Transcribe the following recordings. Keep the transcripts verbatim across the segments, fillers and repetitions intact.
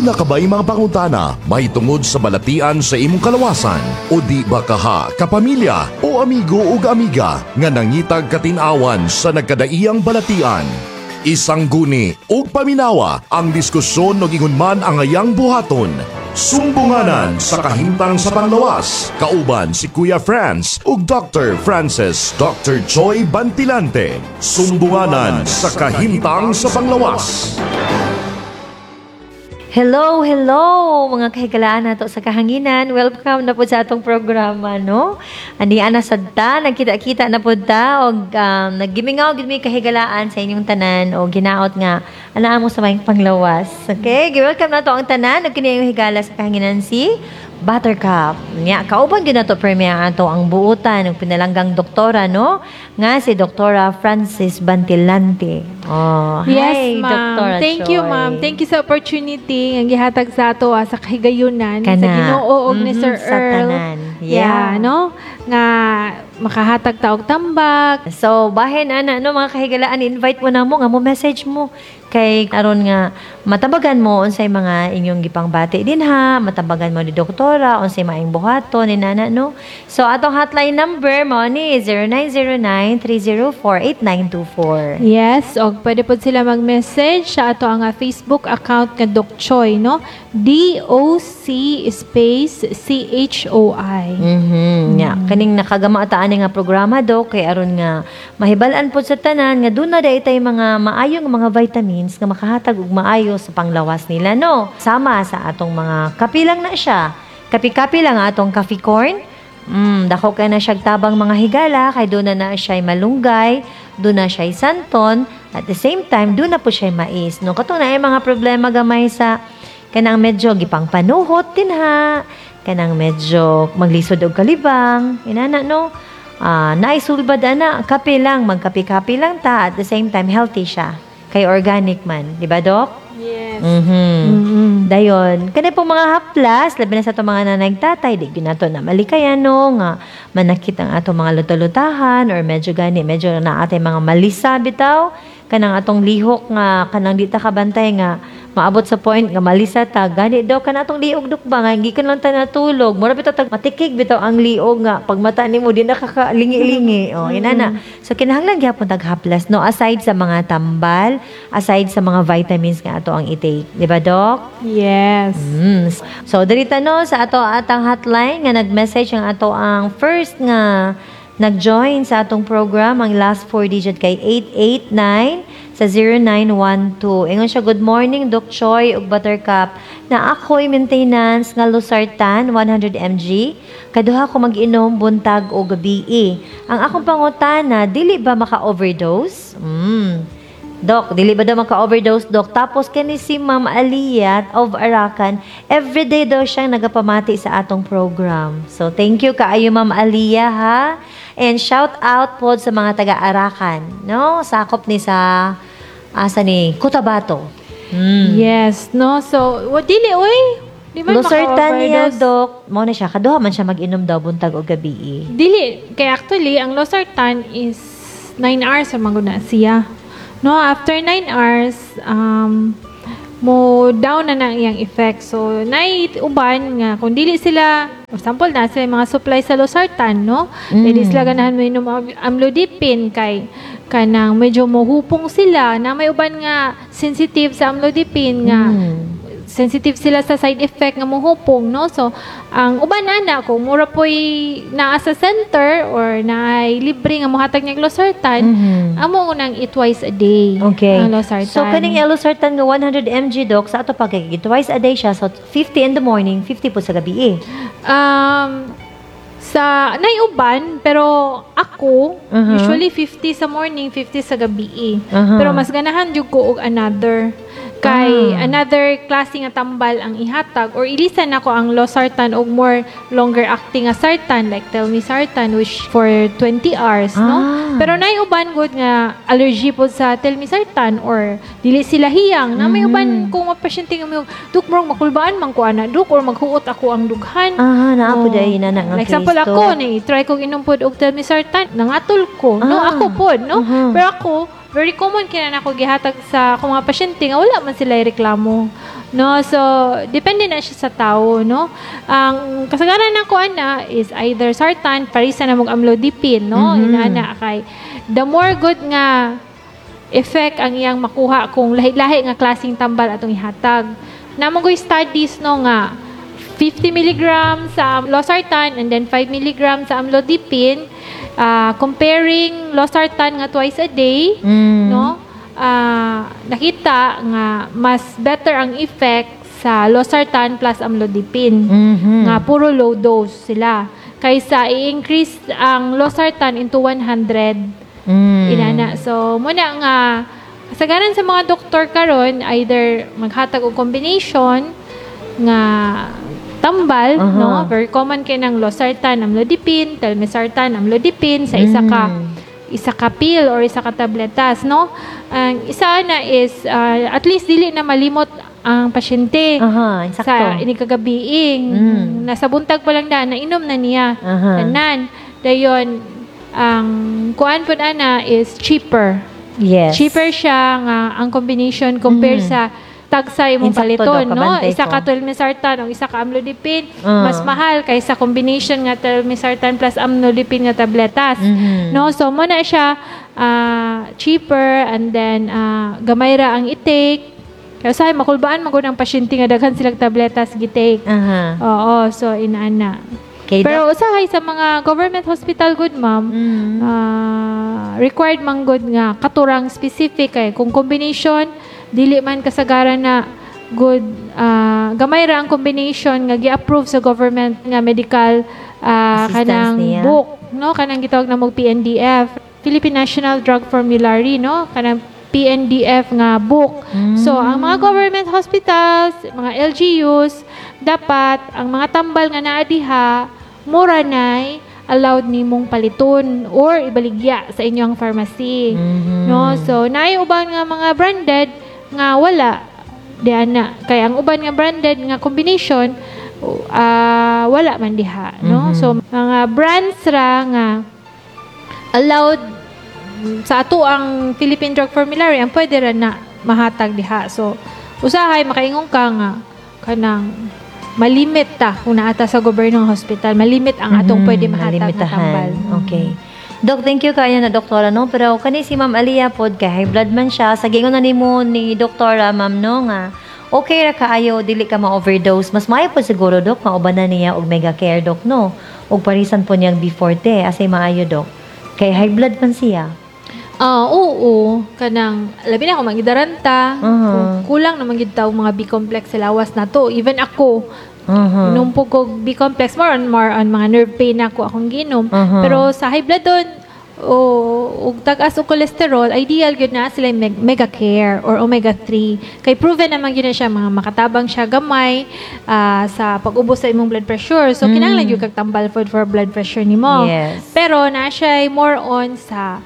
Duna ka ba'y mga pangutana mahitungod sa balatian sa imong kalawasan? O di ba kaha, kapamilya o amigo ug amiga nga nangitag katin-awan sa nagkadaiyang balatian? Isangguni ug paminawa ang diskusyon ug ingon man ang ayang buhaton. Sumbunganan sa kahimtang sa panglawas. Kauban si Kuya Franz ug Doctor Francis Doctor Joy Bantilante. Sumbunganan sa kahimtang sa panglawas. Hello, hello mga kahigalaan nato sa kahanginan. Welcome na po sa atong programa, no? Ani ana sad ta, nagkita-kita na pud ta og um, naggimingaw gid mi kahigalaan sa inyong tanan og ginaot nga anaa mo sa maayong panglawas. Okay, gi-welcome nato ang tanan ug kini ang higala sa kahanginan, si Buttercup. Nya kauban gyud nato permi ang ato ang buutan ug pinalanggang doktora, no? Nga si Doktora Francis Bantilante. Oh, Yes, hi, ma'am. Doktora Thank you, Choi. Ma'am. Thank you sa opportunity nga gihatag sa ato ah, sa kahigayunan Kana. sa Ginoo og ni Mhm, Sir sa Earl. tanan. Yeah. Yeah. No? Nga makahatag ta og tambak. So, bahin ana, no, mga kahigalaan, invite mo na mo nga mo message mo kay aron nga matabagan mo unsay mga inyong gipangbati dinha, matabagan mo ni doktora unsay maayong buhaton ni nana, no. So, atong hotline number mao ni zero nine zero nine, three zero four, eight nine two four. Yes, og pwede pod sila mag-message sa ato ang ah, Facebook account nga Doc Choi, no? D O C space C H O I. Mhm. Nya, kaning nakagama ta ani nga programa, dok, kay aron nga mahibal-an pod sa tanan nga duna diay tay mga maayong mga vitamins nga makahatag og maayo sa panglawas nila, no. Sama sa atong mga kape lang na siya. Kapi-kapi lang atong coffee corn. Mm, dako kay na siya tabang, mga higala, kay duna na siya malunggay, duna siya santon, at the same time duna po siya mais, no. Kato na ay mga problema gamay sa kanang medyo gipang panuhot dinha, kanang medyo maglisod og kalibang, inana, no. Ah, naisulbad ana, kape lang, magkape-kape lang ta, at the same time healthy siya. Kay organic man, di ba, Dok? Yes. Mhm. Mm-mm. Dayon, kani po mga haplas, labi na sa atong mga nanay tatay, di gyud nato na malikayan, no, nga manakit ang atong mga luta-lutahan or medyo gani, medyo na atay mga malisa bitaw, kanang atong lihok nga kanang di ta kabantay nga maabot sa point nga malisa ta gani daw kana atong liog, dok, ba nga gikan lang ta natulog, mura bitaw tag matikig bitaw ang liog nga pag mata nimo di nakakalingi-lingi. Oh, inana. So kinahanglan gyapon tag haplas, no, aside sa mga tambal, aside sa mga vitamins nga ato ang i-take, di ba, Dok? Yes. Mm. So dirita, no, sa ato atang hotline nga nag-message ang ato ang first nga nag-join sa atong program, ang last four digit kay eight eight nine sa zero nine one two. Ingon siya, "Good morning, Doc Choi ug Buttercup. Na ako'y maintenance nga losartan one hundred milligrams. Kaduha ko mag-inom buntag o gabi. Ang akong pangutana, dili ba maka-overdose?" Mm. Dok, dili ba daw maka-overdose, Dok? Tapos kani si Ma'am Aliyah of Arakan, everyday daw siyang nagapamati sa atong program. So, thank you kaayo, Ma'am Aliyah, ha. And shout out po sa mga taga-Arakan, no? Sakop ni sa asa ni Cotabato. Mm. Yes, no? So, wa dili oy. Di man Losartan niya, maka-overdose. Dok. Mao na siya. Kaduha man siya mag-inom daw buntag o gabi. Dili kay actually ang losartan is nine hours ang maguna siya. No, after nine hours um mo down na na ang iyang effect. So, naay uban nga kung dili sila, for example, na sila mga supply sa losartan, no? Mm. Dili sila ganahan mo inom og amlodipine kay kanang medyo mohupong sila, na may uban nga sensitive sa amlodipine nga Mm. sensitive sila sa side effect nga mohupong, no? So ang uban ana, kung mura po'y naa sa center or naay libre nga mohatag niya losartan, Mhm. amo unang i twice a day Okay. ang losartan. So, kaning losartan nga one hundred milligrams, Doc, sa ato pag twice a day siya. So, fifty in the morning, fifty po sa gabi eh. um sa naiuban, pero ako Mhm. usually fifty sa morning, fifty sa gabi eh. Aha. Pero mas ganahan jud ko og another kay Ah. another klase nga tambal ang ihatag or ilisan nako ang losartan og more longer acting nga sartan like telmisartan, which for twenty hours, no? Ah. Pero naiuban gud nga allergy pod sa telmisartan or dili sila hiyang na may Mhm. uban kung mapasyente nga mo, "Dok, murag makulbaan man ko ana, Dok, or maghuot ako ang dughan." Ah, naa po Oh. dahil na nga Like example case, ako, Dok. ni try kong inom pod og telmisartan, nangatol ko. No, Ah. ako pod, no? Mhm. Pero ako, very common kina na ako gihatag sa akong mga pasyente nga wala man sila reklamo. No, so depende na siya sa tao, no. Ang kasagaran nako ana is either sartan parisa na mog amlodipine, no. Mhm. Inana kay the more good nga effect ang iyang makuha kung lahi-lahi nga klaseng tambal atong ihatag. Naa man goy studies, no, nga fifty milligrams sa losartan and then five milligrams sa amlodipine, ah, comparing losartan nga twice a day, Mm. no, ah, nakita nga mas better ang effect sa losartan plus amlodipine Mhm. nga puro low dose sila kaysa i-increase ang losartan into one hundred Mm. inana. So muna nga kasagaran sa mga doktor karon, either maghatag og combination nga tambal, Aha. no, very common kay ng losartan, amlodipine, telmisartan, amlodipine sa isa ka Mm. isa ka pill or isa ka tabletas, no. Ang isa na is uh, at least dili na malimot ang pasyente Aha, insakto. sa inig kagabiing. Mm. Nasa buntag pa lang daan, nainom na niya Aha. tanan. Dayon, ang kuan pud ana is cheaper. Yes. Cheaper siya nga ang combination compare Mhm. sa tagsa imong Insakto paliton, daw, no? kabantay Isa ko. ka telmisartan o isa ka amlodipine, Ah. mas mahal kaysa combination nga telmisartan plus amlodipine nga tabletas. Mhm. No, so mo na siya ah, cheaper and then ah, gamay ra ang i-take. Kaya usahay makulbaan man gud ang pasyente nga daghan silang tabletas gi-take. Aha. Oo, so inaana. Okay, Pero usahay sa mga government hospital good, ma'am, Mm. ah, required man gud nga katurang specific kay kung combination dili man kasagaran na good, ah, gamay ra ang combination nga gi-approve sa government nga medical ah, Assistance kanang niya. book, no, kanang gitawag na mog P N D F, Philippine National Drug Formulary, no, kanang P N D F nga book. So ang mga government hospitals, mga L G Us, dapat ang mga tambal nga naa diha mura nay allowed nimong paliton or ibaligya sa inyong pharmacy. Mhm. No, so naay uban nga mga branded nga wala diha na. Kay ang uban nga branded nga combination, ah, wala man diha, no? Mhm. So mga brands ra nga allowed sa ato ang Philippine Drug Formulary ang pwede ra na mahatag diha. So usahay makaingon ka nga kanang malimit ta kung naata sa gobyernong hospital, malimit ang atong Mhm, pwede mahatag nga malimitahan. tambal. Okay. Dok, thank you kayo na doktora, no? Pero kani si Ma'am Aliyah pod kay high blood man siya. Sa gingon na nimo ni doktora, ma'am, no, nga okay ra kaayo dili ka ma-overdose. Mas maayo po siguro, dok, maubanan niya og Mega Care, dok, no. Ug parisan po niyang B forte asay maayo, dok? Kay high blood man siya. Ah, oo, kanang labi na kung mangidaranta, Uh-huh. kung kulang naman gid taw mga B complex sa lawas na to. Even ako, Uh-huh. inom po kog B complex, more on more on mga nerve pain ako akong ginom. Uh-huh. Pero sa high blood doon o ug tag-as og cholesterol, ideal gyud na sila yung meg- Mega Care or omega three. Kay proven naman gyud na siya mga makatabang siya gamay ah, sa pag-ubos sa imong blood pressure. So Mm. kinahanglan gyud kag tambal food for blood pressure nimo. Yes. Pero na siya more on sa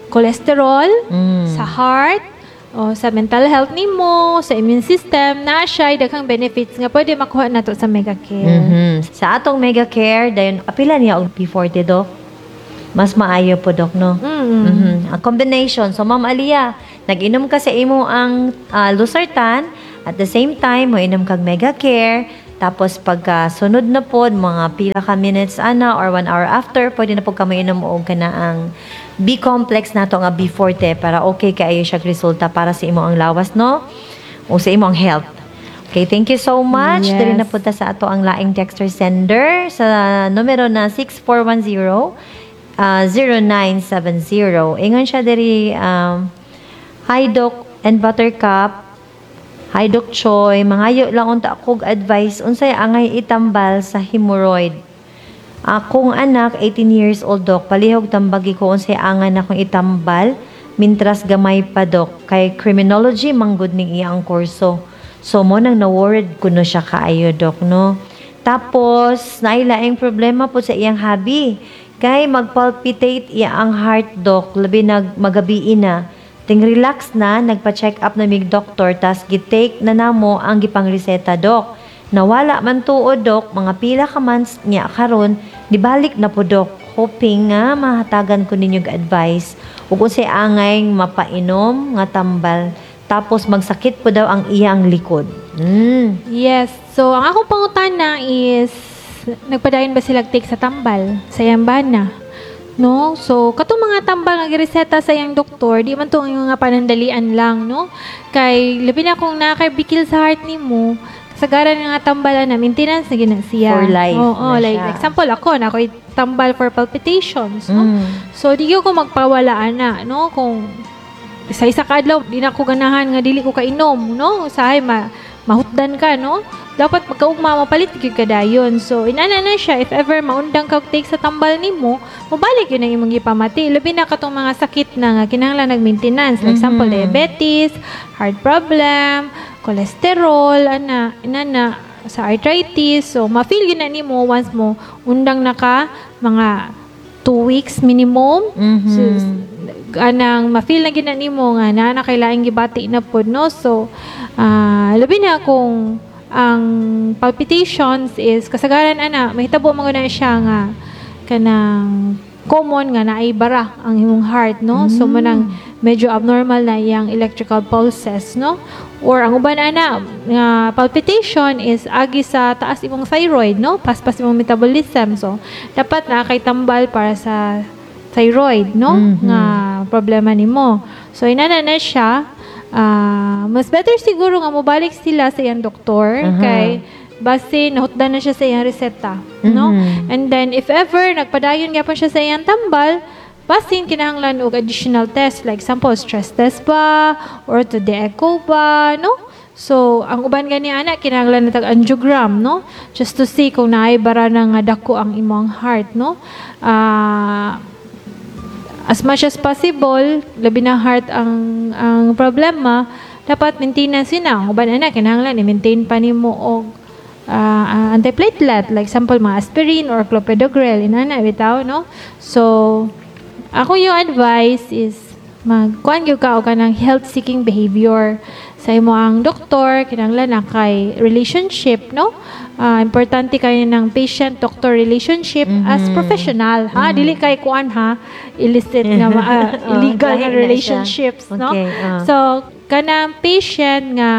cholesterol, Mm. sa heart, o sa mental health nimo, sa immune system, na siya daghang benefits nga pwede makuha nato sa Mega Care. Mhm. Sa atong Mega Care, dayon apila niya og B forty, dok. Mas maayo po, dok, no? Mm. Mhm. Ang combination. So, Ma'am Aliyah, nag-inom ka sa imo ang ah, losartan, at the same time, mo inom kag Mega Care, tapos pagka sunod na po, mga pila ka minutes ana or one hour after, pwede na po ka mainom og kana ang B-complex nato nga B forty para okay kaayo siya resulta para sa imo ang lawas, no? O sa imo ang health. Okay, thank you so much. Yes. Diri na po ta sa ato ang laing texter sender sa numero na six four one zero uh, zero nine seven zero. Ingon siya diri, um, "Hi Doc and Buttercup. Hi Doc Choi, mangayo lang unta akog advice unsay angay itambal sa hemorrhoid. Akong anak eighteen years old, doc, palihog tambagi ko unsay angay na akong itambal mintras gamay pa, doc, kay criminology manggod ning iyang kurso. So mo nang na-worried kuno siya kaayo, doc, no. Tapos naay laing problema po sa iyang hubby. Kay magpalpitate iya ang heart, doc, labi nag magabii na. Ting relax na, nagpa-check up na mig doktor, tas gi-take na namo ang gipang reseta, doc. Nawala man tuod, doc, mga pila ka months niya karon, dibalik na po, doc. Hoping nga mahatagan ko ninyo og advice ug unsay angay mapainom nga tambal. Tapos magsakit po daw ang iyang likod. Mm. Yes. So, ang akong pangutana is, nagpadayon ba sila take sa tambal? Sa iyang bana? No? So, katong mga tambal nga gireseta sa iyang doktor, di man to ang mga panandalian lang, no? Kay, labi na kung nakabikil sa heart nimo, kasagaran nga tambal na maintenance na gyud na siya. For life Oo, na like siya. Example ako, na ako'y tambal for palpitations, no? Mm. So, di gyud ko magpawala ana, no? Kung sa isa ka adlaw, di na ako ganahan nga dili ko kainom, no? Usahay ma mahutdan ka, no? Dapat pagkaugma mapalit gyud ka dayon. So, inana na siya, if ever maundang ka og take sa tambal nimo, mobalik gyud ang imong gipamati. Labi na katong mga sakit na nga kinahanglan nag-maintenance. Like example, Mhm. diabetes, heart problem, cholesterol, ana, inana sa arthritis. So, ma-feel gyud na nimo once mo undang na ka mga two weeks minimum. Mhm. So, anang ma-feel na gyud na nimo nga naa na kay laing gibati na pod, no? So ah, labi na kung ang palpitations is kasagaran ana mahitabo man gud na siya nga kanang common nga naay bara ang imong heart, no? So manang medyo abnormal na iyang electrical pulses, no? Or ang uban ana nga palpitation is agi sa taas imong thyroid, no? Paspas imong metabolism. So dapat na kay tambal para sa thyroid, no? Mhm. Nga problema nimo. So inana na siya, ah, mas better siguro nga mobalik sila sa iyang doktor Aha. kay base nahutdan na siya sa iyang reseta, no? Mhm. And then if ever nagpadayon gyapon siya sa iyang tambal, basin kinahanglan og additional test, like example stress test ba or to the echo ba, no? So ang uban gani ana kinahanglan na tag angiogram, no? Just to see kung naay bara na nga dako ang imong heart, no? Ah, as much as possible, labi na heart ang ang problema, dapat maintenance yun na. Ang uban ana kinahanglan i-maintain pa nimo og ah, ah, antiplatelet, like example mga aspirin or clopidogrel, inana bitaw, no? So ako yung advice is magkuan gyud ka og kanang health seeking behavior sa imo ang doktor. Kinahanglan na kay relationship, no? Ah, importante kayo ng patient doctor relationship as professional, ha? Dili kay kuan ha, illicit nga ma- ah, Oh, illegal lahi nga na siya. relationships, no? Okay, ah. So kanang patient nga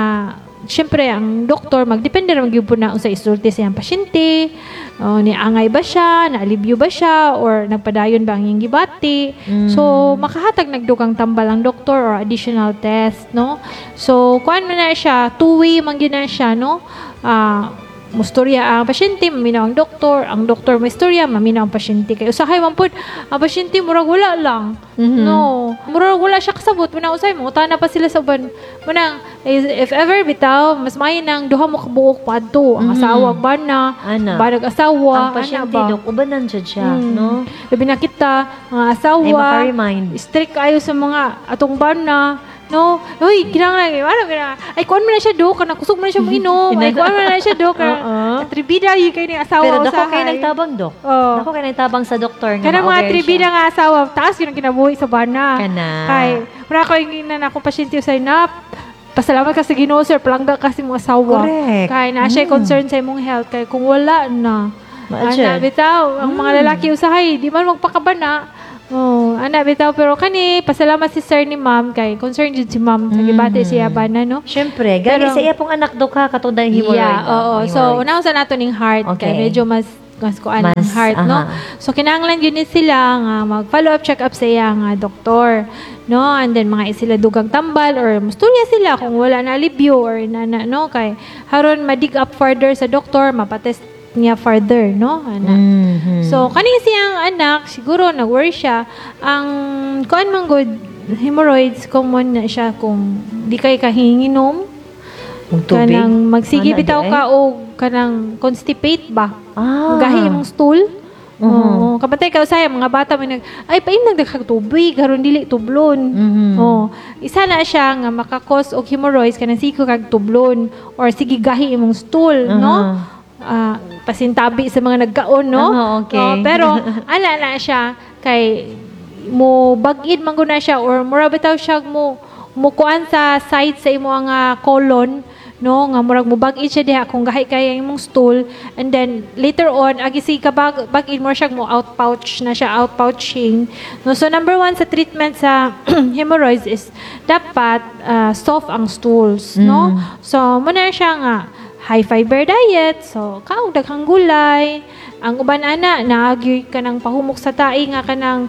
syempre ang doktor magdepende ra gyud po na unsa isulti sa iyang pasyente o ni angay ba siya, naalibyo ba siya, or nagpadayon ba ang iyang gibati. So makahatag nagdugang tambal ang doktor or additional test, no? So kuan man na siya, two-way man gyud na siya, no? Ah, mustorya ang pasyente, maminaw ang doktor, ang doktor maistorya, maminaw ang pasyente. Kay usahay man pud, ang pasyente murag wala lang. Mhm. No. Murag wala siya kasabot, muna usay mangutana pa sila sa uban. Munang if ever bitaw, mas maayo nang duha mo kabuok padto, ang Mhm. asawa bana, Ana. banag asawa, Ang ana pasyente, ba? dok, ubanan jud siya, Mm. no? Labi na kita, mga asawa, Ay, maka-remind. Strict kayo sa mga atong bana, no? Uy, kinahanglan, ano kinahanglan? Ay, kuan man na siya do, kanang kusog man na siya moinom. Ay, kuan man na siya do, kanang Oo. atribida gyud kay ni asawa Pero dako usahay. kay nagtabang, dok. Oo. Dako kay nagtabang sa doktor nga Kanang mga ma-aware atribida siya. nga asawa, taas yun ang kinabuhi sa bana. Kana. Kay, wala ko yung na akong pasyente sa na, pasalamat ka sa Ginoo, sir, palangga kasi mong asawa. Correct. Kay na siya Mm. concern sa imong health kay kung wala na. Maadyan. Ana bitaw, ang mga lalaki usahay di man magpakabana. Oh, ana bitaw, pero kani pasalamat si sir ni ma'am kay concern jud si ma'am sa gibati siya bana, no? Syempre, gani Pero- sa iya pong anak, dok, ha, katong dahil hemorrhoid. Yeah, oo. So, Hemorrhoids. unahon sa nato ning heart Okay. kay medyo mas mas kuan ang Mas, heart, no? aha. So kinahanglan gyud ni sila nga mag-follow up check up sa iya nga doktor, no? And then mga sila dugang tambal or musturya sila kung wala na alibyo or na, na no, kay haron ma-dig up further sa doktor, mapatest niya further, no? Ana. Mhm. So kani siyang anak siguro nag-worry siya ang kuan man gud, hemorrhoids common na siya kung di kay kahinginom. Og tubig. Kanang magsige Ana, bitaw di ay? ka og kanang constipate ba? Ah. Gahi imong stool. Mhm. Oo, kabantay ka usay mga bata may nag ay paim nagdagkag tubig karon dili tublon. Mhm. Oh, isa na siya nga maka-cause og hemorrhoids, kanang sige kag tublon or sige gahi imong stool, no? Aha. Ah, pasintabi sa mga nagkaon, no? Aha, okay. Oh, pero ana na siya kay mo bag-id man gud na siya or mura bitaw siya mo mo kuan sa side sa imo nga colon. no, nga murag mubag-id siya diha kung gahi kay ang imong stool, and then later on agi si kabag bag-id mo siya mo out pouch na siya, out pouching, no. So number one sa treatment sa hemorrhoids is dapat ah, soft ang stools, no. So mo na siya nga high fiber diet, so kaong daghang gulay. Ang uban ana naagyoy kanang pahumok sa tae nga kanang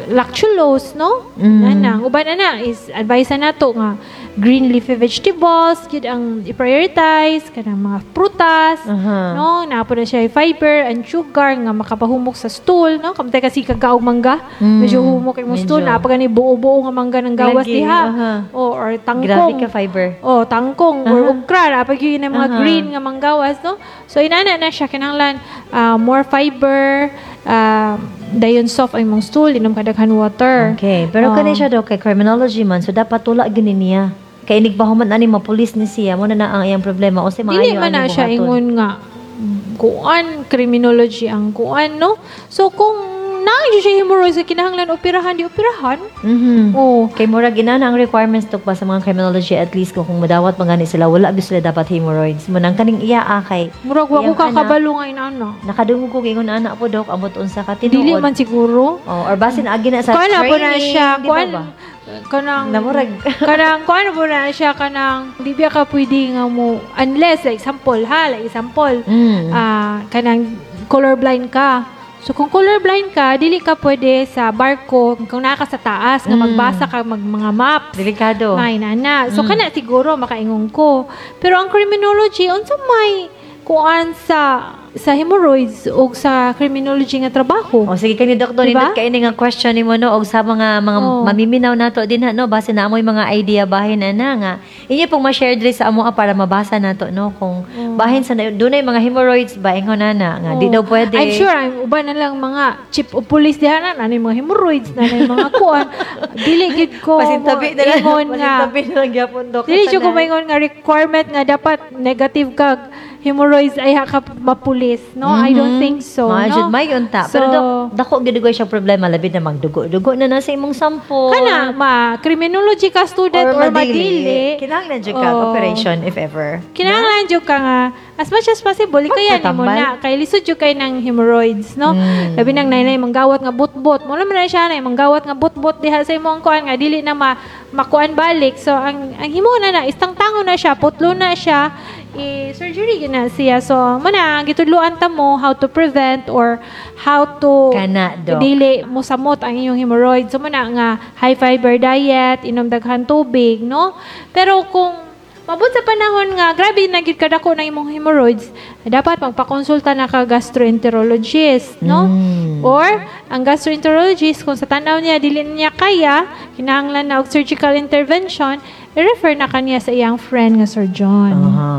lactulose, no. Mm. Ana ang uban ana is advice na nato nga green leafy vegetables gyud ang i-prioritize, kanang mga prutas, Aha. no, naa po na siya fiber and sugar nga makapahumok sa stool, no. Kamtay kasi kagaog mangga, Mm. medyo humok imong stool. Medyo. Naa pa gani buo-buo nga mangga ng gawas Lagi, diha aha. o or tangkong. Grabe ka fiber. Oh, tangkong or Aha. okra, naa pa gyud yung mga Aha. green nga manggawas, no? So inana na siya, kinahanglan ah, more fiber, ah, dayon soft ang imong stool, inom ka daghan water. Okay, pero Oh. kani siya daw kay criminology man, so dapat tula gini niya. Kay inig pa human ani mapulis ni siya, mo na na ang iyang problema o si Dili maayo man na ani siya buhaton. Ingon nga kuan criminology ang kuan, no. So kung naa jud siya hemorrhoids sa kinahanglan operahan, di operahan. Mhm. Oh. Kay murag inana ang requirements to pa sa mga criminology, at least kung, kung madawat man gani sila, wala gyud sila dapat hemorrhoids. Mo nang kaning iya ah, kay Murag wa ko iyang anak. kakabalo nga inana. Nakadungog ko ingon ana po, dok, amot unsa ka tinuod. Dili man siguro. Oh, or basin agi na sa Kuan na po na training, siya, di ba kuan ba? Kanang Namurag. Kanang kuan po na siya, kanang di biya ka pwede nga mo unless, like example ha, like example, Mm. ah, kanang colorblind ka. So kung colorblind ka, dili ka pwede sa barko kung naa ka sa taas nga Mm. magbasa ka mag mga maps. Delikado. May na. So Mm. kana siguro makaingon ko. Pero ang criminology, unsa may kuan sa sa hemorrhoids o sa criminology nga trabaho? O sige kani, Doktor, Diba? nindot kay ini nga question nimo, no, og sa mga mga Oh. mamiminaw nato din ha, no, base na amoy mga idea bahin ana nga inyo pong ma-share diri sa amo ah, para mabasa nato, no, kung bahin sa dunay mga hemorrhoids ba, ingon na nga di Oh. daw pwede. I'm sure I'm uban na lang mga chief of police diha na na mga hemorrhoids na na mga kuan. Dili gid ko Pasintabi na lang. ingon nga. Pasintabi na lang gyapon, Dok. Dili jud ko Tanan. maingon nga requirement nga dapat negative ka hemorrhoids ay ha ka mapulis, no? I don't think so, Mga no? jud may unta. So, Pero dok, dako gid ko siya problema labi na magdugo-dugo na nasa imong sample. Kana ma criminology ka student or, madili. Kinahanglan jud ka Oh. operation if ever. Kinahanglan jud ka nga as much as possible kaya nimo Magpatambal. na kay lisod jud kay ng hemorrhoids, no. Mm. Labi nang nainay manggawat nga butbot mo man na siya na manggawat nga butbot diha sa imong kuan nga dili na ma makuan balik. So ang ang himo na na is tangtangon na siya, putlo na siya, i surgery gyud na siya. So mo na gitudloan ta mo how to prevent or how to Kana, Dok. dili mo samot ang inyong hemorrhoids. So mo na nga high fiber diet, inom daghan tubig, no. Pero kung mabot sa panahon nga grabe na gid kadako ng imong hemorrhoids, dapat magpakonsulta na ka gastroenterologist, no? Mm. Or ang gastroenterologist, kung sa tanaw niya dili na niya kaya, kinahanglan na og surgical intervention, i-refer na kaniya sa iyang friend nga surgeon. Aha,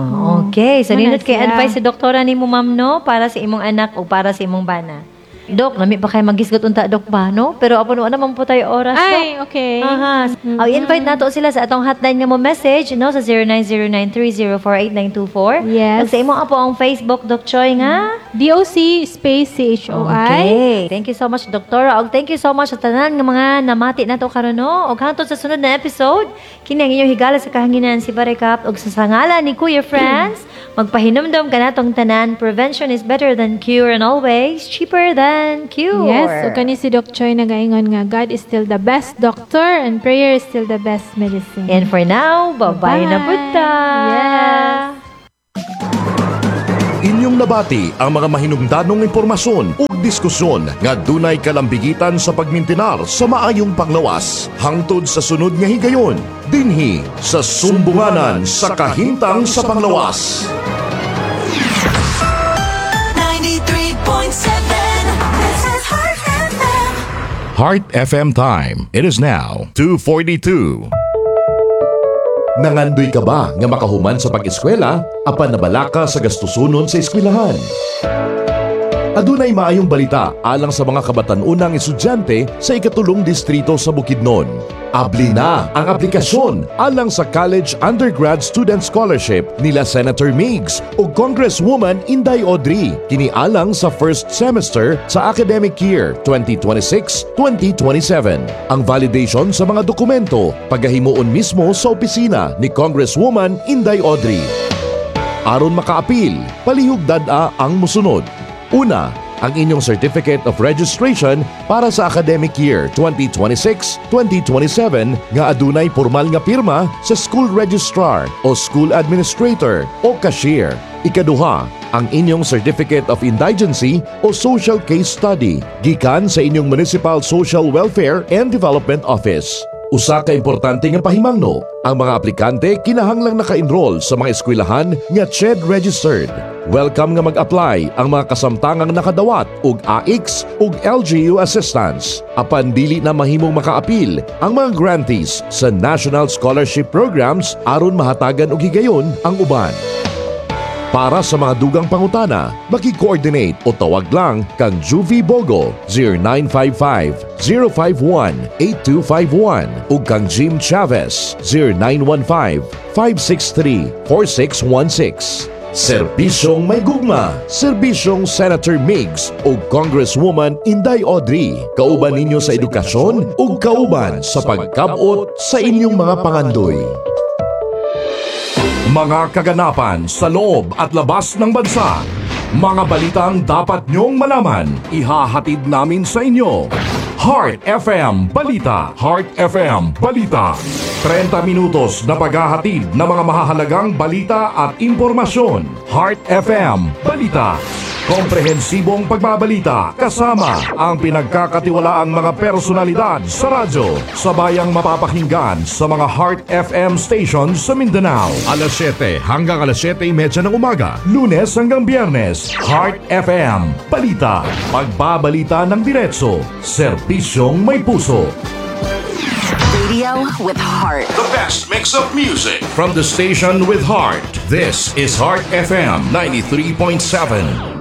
okay. So, Muna nindot kay siya. advice si doktora nimo, ma'am, no? Para sa imong anak o para sa imong bana. Dok, lami pa kay magisgot unta, Dok, ba, no? Pero apon wala naman po tayo oras, Dok. Ay, okay. Aha. Mm-hmm. invite nato sila sa atong hotline nga mo message, no, sa zero nine zero nine, three zero four, eight nine two four. Yes. Ug sa imo po ang Facebook, Doc Choi, nga? D O C space C H O I. Okay. Thank you so much, Doktora. Og thank you so much sa tanan nga mga namati nato karon, no. Og hangtod sa sunod na episode, kini ang inyong higala sa kahanginan, si Barekap, og sa sangalan ni Kuya Friends, magpahinumdom kanatong tanan, prevention is better than cure and always cheaper than cure. Yes, ug kani si Doc Choi nagaingon nga God is still the best doctor and prayer is still the best medicine. And for now, bye-bye na Bye. pud ta. Yes. Inyong nabati ang mga mahinungdanong impormasyon ug diskusyon nga dunay kalambigitan sa pagmintinar sa maayong panglawas. Hangtod sa sunod nga higayon, dinhi sa Sumbunganan sa Kahintang sa Panglawas. ninety-three point seven. This is Heart F M. Heart F M time. It is now two forty-two. Nangandoy ka ba nga makahuman sa pag-eskwela apan nabalaka sa gastusunon sa eskwelahan? Adunay maayong balita alang sa mga kabatan-unang estudyante sa ikatulong distrito sa Bukidnon. Abli na ang aplikasyon alang sa College Undergrad Student Scholarship nila Senator Migs ug Congresswoman Inday Audrey kini alang sa first semester sa academic year twenty twenty-six twenty twenty-seven. Ang validation sa mga dokumento pagahimuon mismo sa opisina ni Congresswoman Inday Audrey. Aron makaapil, palihog dad-a ang musunod. Una, ang inyong Certificate of Registration para sa academic year twenty twenty-six twenty twenty-seven nga adunay pormal nga pirma sa school registrar o school administrator o cashier. Ikaduha, ang inyong Certificate of Indigency o Social Case Study gikan sa inyong Municipal Social Welfare and Development Office. Usa ka importante nga pahimangno, ang mga aplikante kinahanglang naka-enroll sa mga eskwelahan nga CHED registered. Welcome nga mag-apply ang mga kasamtangang nakadawat og A I C S ug L G U assistance. Apan dili na mahimong makaapil ang mga grantees sa National Scholarship Programs aron mahatagan og higayon ang uban. Para sa mga dugang pangutana, maki-coordinate o tawag lang kang Juvie Bogo, zero nine five five, zero five one, eight two five one ug kang Jim Chavez, zero nine one five, five six three, four six one six. Serbisyong may gugma, serbisyong Senator Migs ug Congresswoman Inday Audrey. Kauban ninyo sa edukasyon ug kauban sa pagkabot sa inyong mga pangandoy. Mga kaganapan sa loob at labas ng bansa. Mga balitang dapat nyong malaman, ihahatid namin sa inyo. Heart F M Balita. Heart F M Balita. trenta minutos na paghahatid ng mga mahahalagang balita at impormasyon. Heart F M Balita. Komprehensibong pagbabalita kasama ang pinagkakatiwalaang mga personalidad sa radyo sa bayang mapapakinggan sa mga Heart F M stations sa Mindanao. Alas siyete hanggang alas siyete trenta ng umaga, Lunes hanggang Biyernes. Heart F M Balita. Pagbabalita ng diretso, serbisyong may puso. Radio with heart. The best mix of music from the station with heart. This is Heart F M ninety-three point seven.